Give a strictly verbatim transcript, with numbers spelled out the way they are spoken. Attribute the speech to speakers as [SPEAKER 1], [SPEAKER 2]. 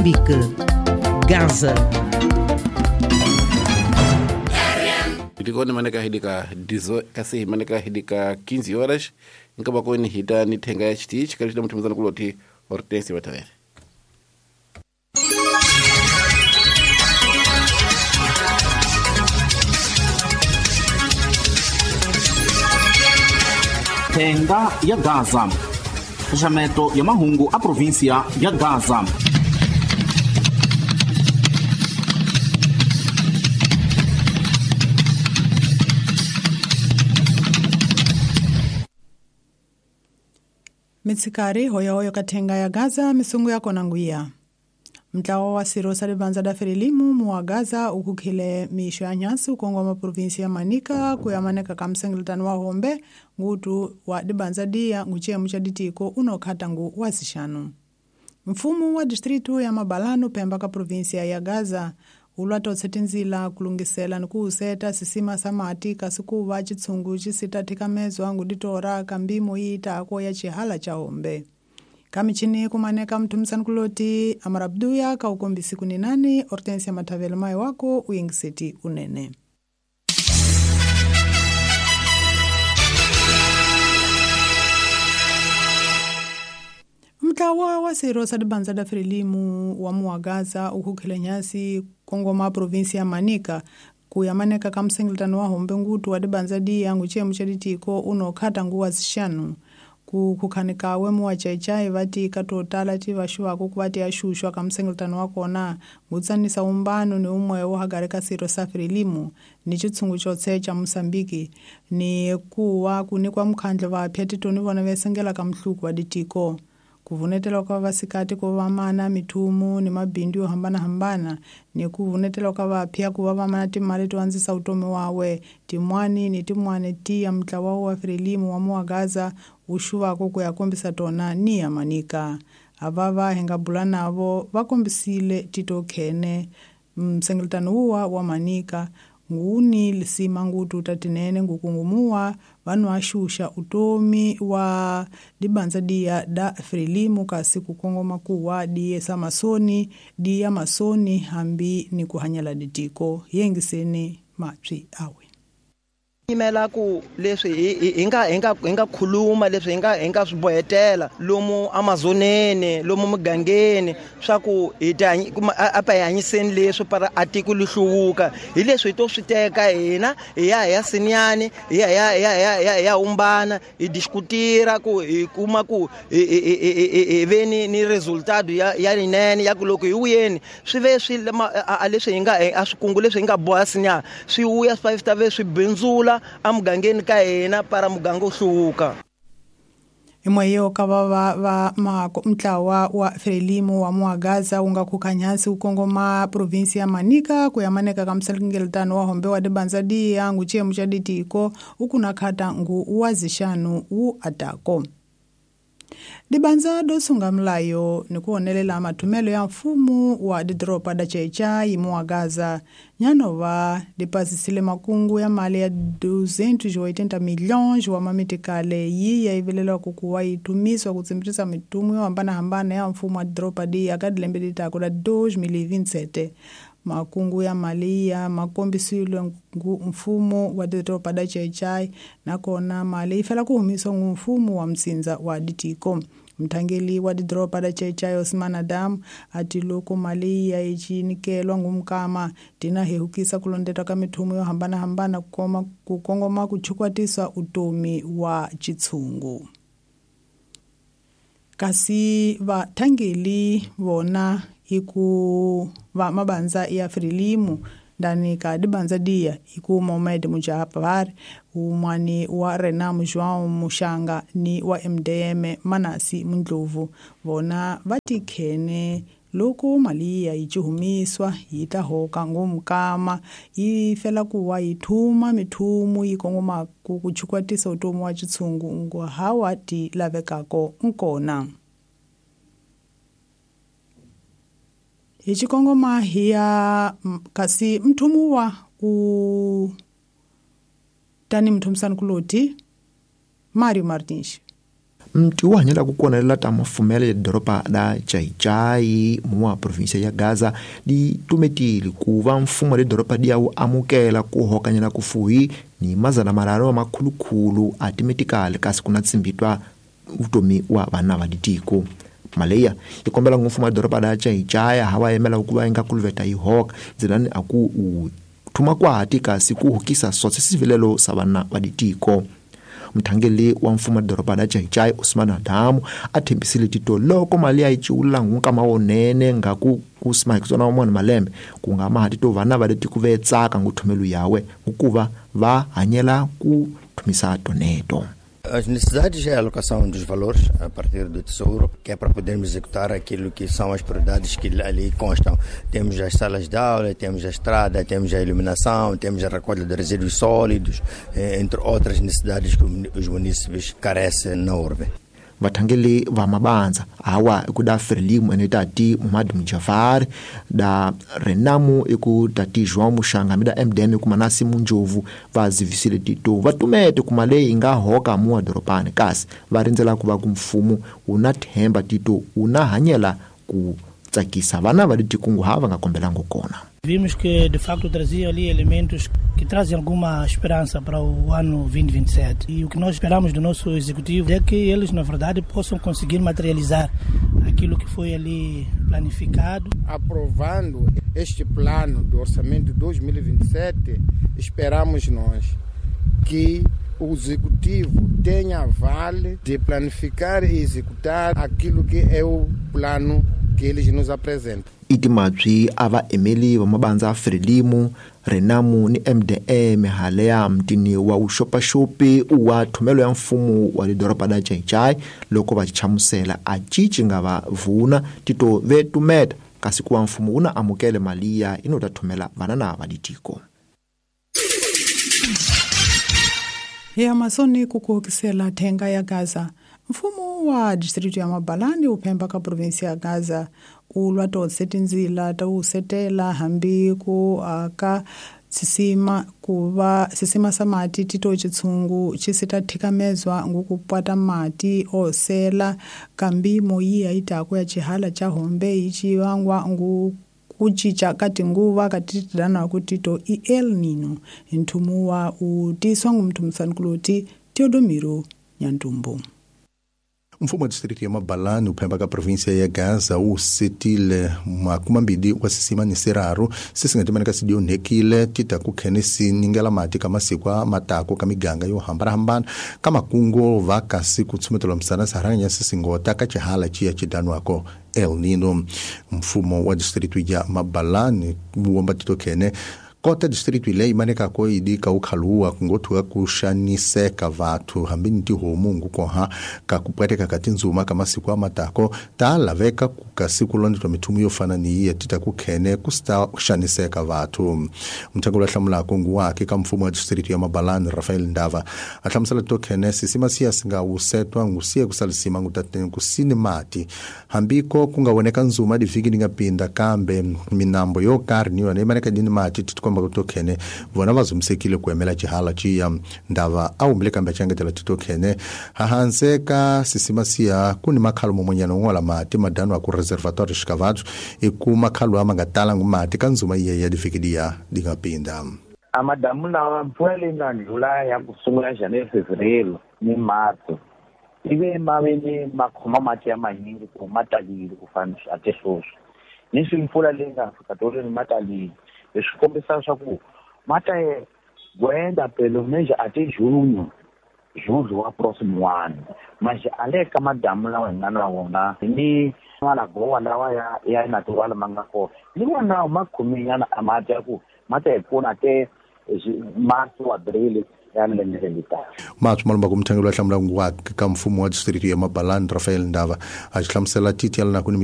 [SPEAKER 1] Moçambique, Gaza.
[SPEAKER 2] Itikoni maneka hidika dizo kasi maneka hidika quinze horas nkaba koni hita ni thenga ya chitichi kalita mthumizana kuloti Hortense Batavere.
[SPEAKER 3] Thenga ya Gaza. Xaxameto ya mahungu a província ya Gaza.
[SPEAKER 4] Mitsikari hoyahoyo kathenga ya Gaza misungu yakona nguya. Mtlawa wa siro sa libanza da Frelimu muwa Gaza ukukhile miisho ya nyasi ukongoma provinsi ya Manica kuyamaneka ka msengeletano wa hombe ngutu wa dibanza diya nguchemu cha ditiko unokhata ngu wasixanu. Mfumo wa distritu ya Mabalano pemba ka provinsia ya Gaza ulwa tinzila kulungisela ni kuuseta sisima sa mati kasi kuva chitsungu cisitathika ngu ditora ka mbimo yiitaako ya chihala cha hombe. Kamichini kumaneka mthumisani kuloti amarabduya ka ukombisi kuninani Hortensia Matavele mai wako uingiseti unene. Mtlawa wa siro sa dibanza da Frelimu wa muwa Gaza ukhukhile nyasi kongoma provinsi ya Manica kuyamaneka ka msengeletano wa hombe ngutu wa dibanza diya nguchemu cha ditiko unokhata ngu wasixanu. Kukhanika muwa chaichai vati katotala ti vaxuwako kuvati axuxwa ka msengeletano wa kona ngutsanisa umbano ni umwewo hagari ka siro sa Frelimu ni chitsungu chotse cha Moçambique ni kuwa kunikwa mukhandlo vapya titoni vona vesengela ka mhluku wa ditiko. Kuvunetela ka vasikati ku va mana mithumu ni mabindzu yo hambanahambana ni kuvunetela ka vapya ku va va mana timali to andzisa utomi wawe tin'wani ni tin'wani tiya mutlawa wa Frelimu wa muwa Gaza wu xuvako ku ya kombisa tona ni ya Manica. Ava hi nga bula navo va kombisile tito khene msengeletano wuwa wa Manica nguni lisima ngutu tatinene ngukungumuwa vanhu axuxa utomi wa dibanza diya da Frelimu kasi kukongoma kuwa diye sa masoni diya masoni hambi ni kuhanyela ditiko yengiseni mapyi awe.
[SPEAKER 5] Yimela ku leswi hi nga hi nga hi nga khuluma leswi hi nga hi nga swi bohetela lomu Amazoneni lomu mugangeni swa ku hi ta apa hi hanyiseni leswi para atiko li hluvuka hi leswi hi to swi teka hina hi ya hi ya sinyani hi ya ya ya ya ya umbana hi diskutira ku hi kuma ku hi ve ni ni resultado ya ya linene ya ku loko hi wuyeni swi ve swi a leswi hi nga a swikungu leswi hi nga boha sinya swi wuya swi ta ve swi bindzula amugangeni ka hina para muganga u hluvuka.
[SPEAKER 4] Imweyo ka va va va mako mtlawa wa Frelimu wa muwa Gaza wu nga khukhanyasi wu kongoma provinsi ya Manica ku ya maneka ka msengeletano wa hombe wa dibanza diya nguchemu cha ditiko ukunakhata ngu wa zixanu wu atako. Dibanza do sunga mlayo ni kuonelela mathumelo ya mfumo wa didoropa da Chaichai muwa Gaza nyanova dipasisile makungu ya mali ya duzentos e oitenta milhões wa mamitikale yi ya ivelelwa kukuwa yitumiswa kutsimbirisa mitumu yo hambanahambana ya mfumo wa didoropa diya ka dilembe ditako la dois mil e vinte e sete. Makungu ya mali ya makombisile mfumo wa didoropa da Chaichai nakona mali ifela kuhumiswa ngu mfumo wa msinza wa ditiko. Mthangeli wa didoropa da Chaichai Osman Adam ati loko mali ya icinikelwa ngumkama tina hehukisa kulondeta ka mithumu yo hambanahambana kukoma kukongoma kuchukwatisa utomi wa chitsungu. Kasi vathangeli vona iku va mabanza ya Frelimu ndani ka dibanza diya iku Mohamed Mujapar umwani wa Renam João Mushanga ni wa M D M Manasi Mundlovu vona vatikhene loko mali ya yichihumiswa yi ta hoka ngumkama yi fela kuwa yi thuma mithumu yi kongoma ku kuchukwatisa utomi wa chitsungu ngo hawa ti lavekako nkona. Hi xikongoma hi ya kasi mthumu wa u tani mthumisani kuloti Mario Martins.
[SPEAKER 6] Mti wu hanyela ku konelela ta mafumele ya doroba la Xai-Xai muwa provinsia ya Gaza di tumetile ku va mfumo le doroba di ya wu amukela ku hokanyela ku fuhi ni mazana mararo wa makhulukhulu a timetikali kasi kuna tsimbitwa vutomi wa vana va ditiko. Maleya yi kombela mfumo wa doroba la Xai-Xai hawa yemela ku va inga kuluveta yi hoka ndzilani a ku u thuma kwati kasi ku hukisa sotse sivilelo sa vana va ditiko. Mthangeli wa mfumo wa doroba la Xai-Xai Osman Adamu a thembisile tito loko mali ya yi ciwula nkama wonene nga ku kusima ku tsona mona malembe ku nga ma tito vana va leti ku vetsaka nguthomelo yawe hikuva va hanyela ku thumisa toneto.
[SPEAKER 7] As necessidades é a alocação dos valores a partir do Tesouro, que é para podermos executar aquilo que são as prioridades que ali constam. Temos as salas de aula, temos a estrada, temos a iluminação, temos a recolha de resíduos sólidos, entre outras necessidades que os munícipes carecem na urbe.
[SPEAKER 6] Vathangeli va mabandza hawa ku da Frelimo ene tati Muhammad Mujafar da Renamu iku tati João Muxanga mi da M D M ku Manasi Munjovu va zivisile tito va tumete kuma leyi nga hoka muwa doropani kasi va rindzela ku va ku mfumo wu na themba tito wu na hanyela ku tsakisa vana va letikungu hava nga kombelango kona.
[SPEAKER 8] Vimos que de facto trazia ali elementos que trazem alguma esperança para o ano vinte e vinte e sete. E o que nós esperamos do nosso executivo é que eles, na verdade, possam conseguir materializar aquilo que foi ali planificado.
[SPEAKER 9] Aprovando este plano do orçamento de dois mil e vinte e sete, esperamos nós que o executivo tenha vale de planificar e executar aquilo que é o plano que eles nos apresentam.
[SPEAKER 6] Itimatswi a va emeli va mabandza Frelimo, Renamu ni M D M haleya mtini wa uxopaxopi wa thomelo ya mfumo wa le doroba la Xai-Xai loko va chamusela a cici nga va vuna tito ve tumeta kasi ku wa mfumo wu na amukele mali ya ino ta thomela vana na va ditiko.
[SPEAKER 4] Ya masoni kukuhokisela thenga ya Gaza. Mfumo wa distrito ya Mabalani uphemba ka provinsi ya Gaza ulwa totse tindzila ta wu setela hambi ku aka sisima kuva sisima sa mati tito chitsungu chisita thikamezwa ngukupwata mati osela kambi moyiya itako ya chihala cha hombe ichi wangwa ngu kuchicha kati nguva katitidana kutito i El Nino nthumu wa utiswa ngumthumsankuluti Teodomiro Nyantumbu.
[SPEAKER 10] Mfumo wa distrito ya Mabalani uphemba ka província ya Gaza wu setile makumambili wa sisima ni siraru sisingatimani sidionekile tita ku khene siningela mati ka masiku a matako ka miganga yo hambanahambana ka makungo va kasi ku tshumetela misana saranya sisingota ka chihala chiya chidanwako El Nino. Mfumo wa distrito ya Mabalani wuomba tito khene kota distrito ile imaneka ko idika ukhaluwa kungothuka kuxaniseka vathu hambi ni tihomu ngukoha ka kupweteka ka tindzuma ka masiku a matako ta laveka ku kasi ku londletwa mithumu yo fana ni yiya tita ku khene ku sta xaniseka vathu. Mthangelo wa hlamulako nguwake ka mfumo wa distrito ya Mabalani Rafael Ndava a hlamusela to khene sisima siya singa wusetwa ngusiye kusalisima ngutateni kusini mati hambiko ku nga voneka ndzuma divhiki ni nga pinda kambe minambo yo karhi ni yona imaneka dini mati komba kutokhene vona va zumsekile ku emela chihala chiya Ndava a humbile kambe changetela titokhene hahanse ka sisima siya ku ni makhalo momonyana un'wana mati madano a ku reservatoire xikavatu i ku makhalo ama nga talangu mati ka ndzuma iye ya divikidiya di nga pinda.
[SPEAKER 11] A madamu lawa mpfula leyi nga ndlula ya ku sungula January, Fevereiro ni March ive ma ve ni ma khoma mati ya manyingi ku ma talile ku fana a te sweswi ni swi mpfula leyi nga fika tolweni ma talile. Leswi kombisa swa ku mata gwenda pelo meja ate junho julho wa próximo ano mas ale ka madamu lawa hi nga na wona ni malagowa lawa ya ya natural ma nga kona ni wona ma khominyana a mati ya ku mata hi pfuna te março abril ya lembe leri taka.
[SPEAKER 10] Matswi malumba ku mthangelo wa hlamula nguwake ka mfumo wa distrito ya Mabalani Rafael Ndava a xi hlamusela titi ya lana ku ni